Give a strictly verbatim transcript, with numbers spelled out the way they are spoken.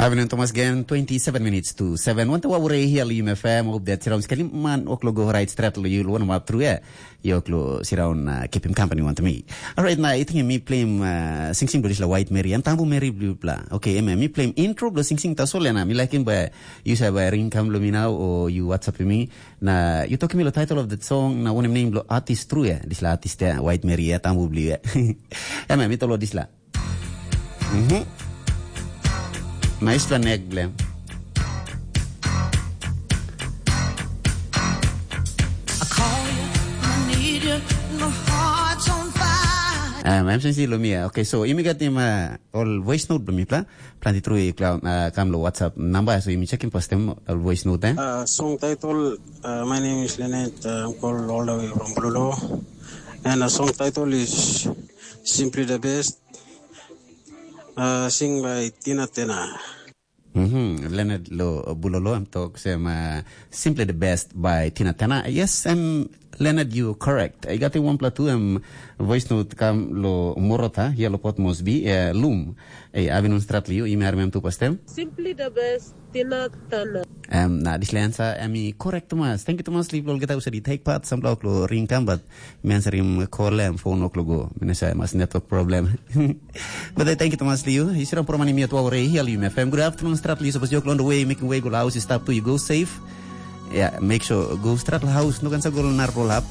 Avenue Thomas again, twenty-seven minutes to seven. Wanta wa ure hia lo U M F M, hope that siraun skali man oklo go right strat lo you lo wan map through eh. Yo klo siraun uh, keep him company wanta me. All right, na I think me play him uh, sing sing blo disla White Mary. Em tambu Mary blo bla. Okay, em me play him intro blo sing sing tasol na me like him by you say by ring kam lo me now or you WhatsApp me. Na you talk me lo title of the song na one name lo artist true eh. Disla artist eh, White Mary eh, tambu blo eh. Em me tolo disla. Mhm. Nice one, Nick Blem. I call you, I need you, my heart's on fire. Um, I'm Sensi Lumia. Okay, so imigat him uh, all voice note blo mipla. Planti tru i kla- uh, kam lo WhatsApp number, so imi check him first time all voice note eh. Uh, song title, uh, My name is Lynette. Uh, I'm called all the way from Bulolo. And the song title is Simply the Best. Uh, sing by Tina Tena. Mm-hmm. Leonard lo Bulolo, I'm talk sem uh, Simply the Best by Tina Tena. Yes, um, Leonard, you correct. I got one plus two um, voice note kam lo Morota, here lo Port Moresby, uh, Loom. Hey, Avinun Stratli, you, you may remember to pastem. Simply the Best, Tina Tana. Um, na this answer, I mean, correct, Thomas. Thank you, Thomas. Leave all get out, said take part, some block lo ring come, but Mensarim call em phone o'clock go. Minasa mas network problem. But I thank you, Thomas Liu. Isira por mani miat wa rei hial U M F M. Good afternoon, Strat Liu. Suppose you're on the way, making way, go house, stop to you, go safe. Yeah, make sure go Strat House, no gansa go nar roll up.